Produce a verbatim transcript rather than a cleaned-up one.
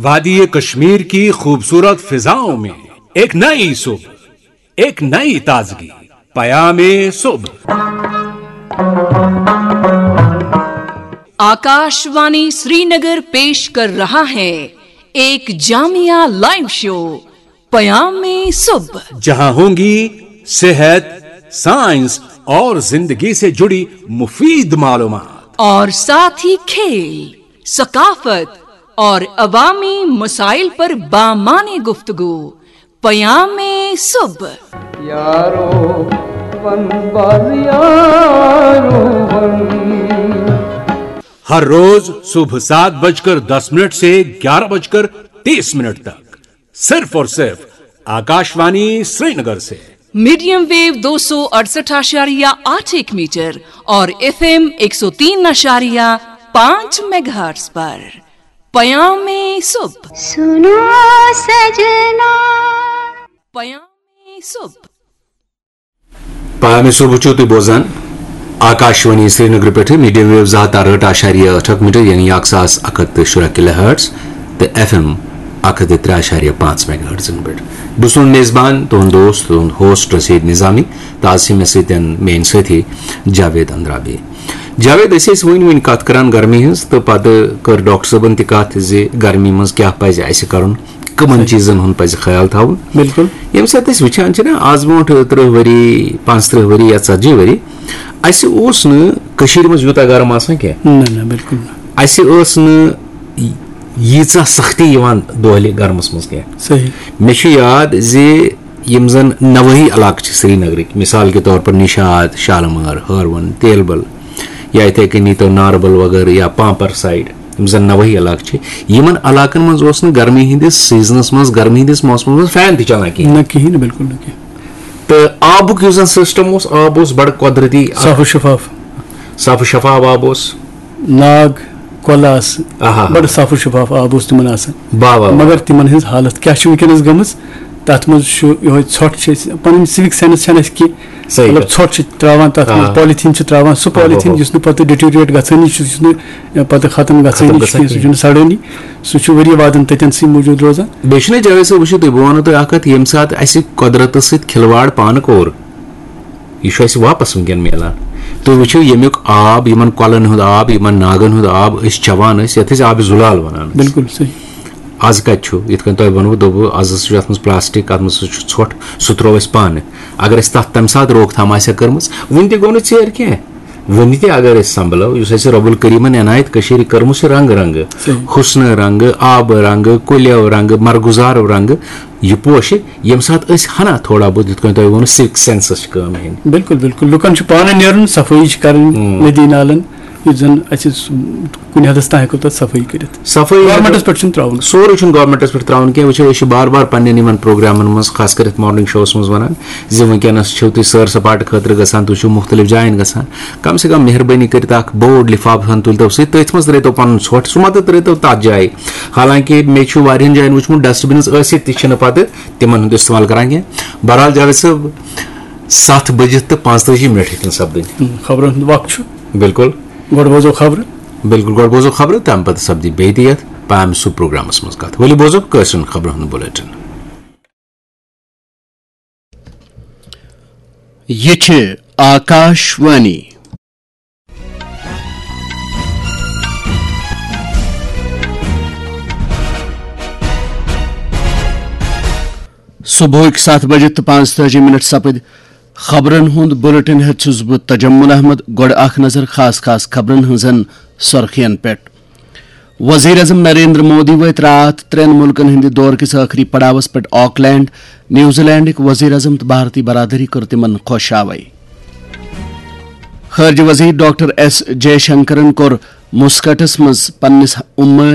وادی کشمیر کی خوبصورت فضاؤں میں ایک نئی صبح، ایک نئی تازگی۔ پیام صبح۔ आकाशवाणी श्रीनगर पेश कर रहा है एक जामिया लाइव शो, पयाम में सुब। जहां होंगी सेहत, साइंस और जिंदगी से जुड़ी मुफीद मालूमात। और साथ ही खेल, सकाफत और अवामी मसाइल पर बामाने गुफ्तगू। पयाम में सुब। यारो वन बाज यारो वन। हर रोज सुबह सात बजकर दस मिनट से ग्यारह बजकर तीस मिनट तक सिर्फ और सिर्फ आकाशवाणी श्रीनगर से। मीडियम वेव दो सौ अड़सठ आशारिया आठ एक मीटर और एफएम एक सौ तीन आशारिया पाँच मेगाहर्ट्ज पर पयाम में सुब। सुनो सजना। पयाम में सुब। پامہِ صبح چھِو تُہۍ بوزان آکاشوانی سرینگرٕ پٮ۪ٹھٕ میٖڈیم ویو زٕ ہَتھ تہٕ اَرہٲٹھ اَشاریہ ٲٹھ اکھ میٖٹر، یعنی اکھ ساس اکھ ہَتھ تہٕ شُراہ کِلوہٲٹز، تہٕ ایف ایم اکھ ہَتھ تہٕ ترٛےٚ اَشاریہ پانٛژھ میگاہٲٹزن پٮ۪ٹھ۔ بہٕ چھُس تُہُنٛد میزبان، تُہُنٛد دوست، تُہُنٛد ہوسٹ رشیٖد نظامی، تہٕ آز چھِ مےٚ سۭتۍ میٲنۍ سٲتھی جاوید اندرابی۔ جاوید، أسۍ ٲسۍ وٕنۍ وٕنۍ کتھ کران گرمی ہٕنٛز، تہٕ پتہٕ کٔر ڈاکٹر صٲبن تہِ کتھ زِ گرمی منٛز کیٛاہ پزِ اسہِ کرُن، کٕمن چیٖزن ہُنٛد پزِ خیال تھاوُن۔ بِلکُل۔ ییٚمہِ ساتہٕ أسۍ وٕچھان چھِ نا، آز برونٛٹھ ترٕٛہ ؤری، پانٛژترٕٛہ ؤری یا ژتجی ؤری، اسہِ اوس نہٕ کٔشیٖرِ منٛز یوٗتاہ گرم آسان کینٛہہ۔ نہ نہ، بِلکُل نہٕ۔ اسہِ ٲس نہٕ ییٖژاہ سختی یِوان دۄہلہِ گرمس منٛز کینٛہہ۔ صحیح۔ مےٚ چھُ یاد زِ یِم زن نوٲحی علاقہٕ چھِ سرینگرٕکۍ، مثال کے طور پر نشاد، شالمٲر، ہٲروَن، تیلبل، یا یِتھے کٔنۍ نیٖتو ناربل وغٲرٕ یا پامپر سایڈ، یِم زن نوٲحی علاقہٕ چھِ، یِمن علاقن منٛز اوس نہٕ گرمی ہٕنٛدِس سیزنس منٛز، گرمی ہٕنٛدِس موسمس منٛز فین تہِ چلان کِہینۍ۔ نہ کِہینۍ نہٕ، بِلکُل نہٕ کِہینۍ۔ تہٕ آبُک یُس زن سسٹم اوس، آب اوس بڑٕ قۄدرتی، صاف و شفاف۔ صاف و شفاف آب اوس۔ ناگ، کۄلہٕ آسہٕ، آہا۔ بڑٕ صاف و شفاف آب اوس تِمن آسان۔ واہ واہ واہ۔ مگر تِمن ہٕنٛز حالت کیٛاہ چھِ وٕنکیٚنس گٔمٕژ؟ تَتھ منٛز چھُ یِہوٚے ژھۄٹھ چھِ أسۍ، پَنٕنۍ سِوِک سینٕس چھَنہٕ اَسہِ کینٛہہ۔ صحیح مطلب کَتھ۔ ژھۄٹھ چھِ ترٛاوان تَتھ منٛز، آ۔ پالیٖتھیٖن چھِ ترٛاوان، سُہ آ، آ، پالیٖتھیٖن آ۔ یُس نہٕ پَتہٕ ڈِٹیریٹ گژھٲنی چھُ، یُس نہٕ پَتہٕ ختم گژھٲنی ختم چھُ کینٛہہ، سُہ گژھان چھُنہٕ سَڑٲنی۔ سُہ چھُ ؤری وادَن تَتٮ۪ن سٕے موٗجوٗد روزان۔ بیٚیہِ چھُنہ جاوید صٲب، وٕچھِو تُہۍ، بہٕ وَنو تۄہہِ اَکھ کَتھ، ییٚمہِ ساتہٕ اَسہِ قۄدرَتَس سۭتۍ کھِلواڑ پانہٕ کوٚر، یہِ چھُ اَسہِ واپَس وٕنکیٚن میلان۔ تُہۍ وٕچھِو، ییٚمیُک آب، یِمَن کۄلَن ہُنٛد آب، یِمَن ناگَن ہُنٛد آب أسۍ چٮ۪وان ٲسۍ، یَتھ أسۍ آبِ زُلال وَنان ٲسۍ۔ بِلکُل صحیح۔ آز کَتہِ چھُ؟ یِتھ کٔنۍ تۄہہِ ووٚنوُ، دوٚپوُ، آز ہسا چھُ اَتھ منٛز پلاسٹک، اَتھ منٛز ہسا چھُ ژھۄٹھ، سُہ ترٛوو اَسہِ پانہٕ۔ اگر اَسہِ تَتھ تَمہِ ساتہٕ روک تھام آسہِ ہا کٔرمٕژ، وٕنہِ تہِ گوٚو نہٕ ژیر کینٛہہ۔ وٕنہِ تہِ اگر أسۍ سنبھلو، یُس اَسہِ رۄبُل کریٖمن عنایت کٔشیٖرِ کٔرمٕژ چھِ رنٛگہٕ رنٛگہٕ، صحیح۔ حُسنہٕ رنٛگہٕ، آبہٕ رنٛگہٕ، کُلٮ۪و رنٛگہٕ، مرگُزارو رنٛگہٕ، یہِ پوشہِ، ییٚمہِ ساتہٕ أسۍ ہنا تھوڑا بہت، یِتھ کٔنۍ تۄہہِ ووٚنوُ، سِوِک سینسس چھِ کٲم ہیٚنۍ۔ بِلکُل، بِلکُل۔ لُکن چھُ پانہٕ نیرُن، صفٲیی چھِ کَرٕنۍ، ہُم۔ ندی نالن، یُتھ زن اَسہِ سُہ کُنہِ حدس تام ہٮ۪کو تَتھ صفٲیی کٔرِتھ۔ صفٲیی گورمنٹس پٮ۪ٹھ چھُنہٕ ترٛاوُن۔ سورُے چھُنہٕ گورمنٹس پٮ۪ٹھ ترٛاوُن کینٛہہ۔ وٕچھو، أسۍ چھِ بار بار پننٮ۪ن یِمن پروگرامن منٛز، خاص کٔرِتھ مارننگ شوس منٛز وَنان زِ وٕنکیٚنس چھِو تُہۍ سٲر سپاٹہٕ خٲطرٕ گژھان، تُہۍ چھِو مُختٔلِف جاین گژھان، کم سے کم مہربٲنی کٔرِتھ اکھ بوٚڑ لفافہٕ ہن تُلتو سۭتۍ، تٔتھۍ منٛز ترٲیتو پنُن ژھۄٹھ، سُہ مہ تہٕ ترٲیتو تتھ جایہِ۔ حالانکہ مےٚ چھُ واریاہن جاین وٕچھمُت، ڈسٹ بنز ٲسِتھ تہِ چھِنہٕ پتہٕ تِمن ہُنٛد استعمال کران کینٛہہ۔ بہرحال جاوید صٲب، ستھ بٔجِتھ تہٕ پانٛژتٲجی منٹ ہیٚتِن سپدٕنۍ۔ خبرن ہُنٛد وقت چھُ۔ بِلکُل۔ گۄڈٕ بوزو خبرٕ۔ بِلکُل، گۄڈٕ بوزو خبرٕ، تَمہِ پَتہٕ سَپدِ بیٚیہِ تہِ یَتھ پامہِ سُہ پروگرامَس منٛز کَتھ۔ ؤلِو بوزو کٲشرٮ۪ن خبرَن ہُنٛد بُلٹن۔ یہِ چھِ آکاش وانی۔ صبحٕکۍ ستھ بجہِ تہٕ پانٛژتٲجی منٹ سپٕدۍ۔ خبرن ہُنٛد بُلٹن ہٮ۪تھ چھُس بہٕ تجمل احمد۔ گۄڈٕ اکھ نظر خاص خاص خبرن ہٕنٛزن سرخین پٮ۪ٹھ۔ وزیر اعظم نریندر مودی وٲتۍ راتھ ترٛٮ۪ن مُلکن ہٕنٛدِ دورٕ کِس ٲخری پڑاوس پٮ۪ٹھ آکلینڈ۔ نیوزی لینڈٕکۍ وزیر اعظم تہٕ بھارتی برادری کٔر تِمن خۄش آوے۔ خارجہ وزیر ڈاکٹر ایس جے شنکرن کوٚر مسکٹس منٛز پننِس عمان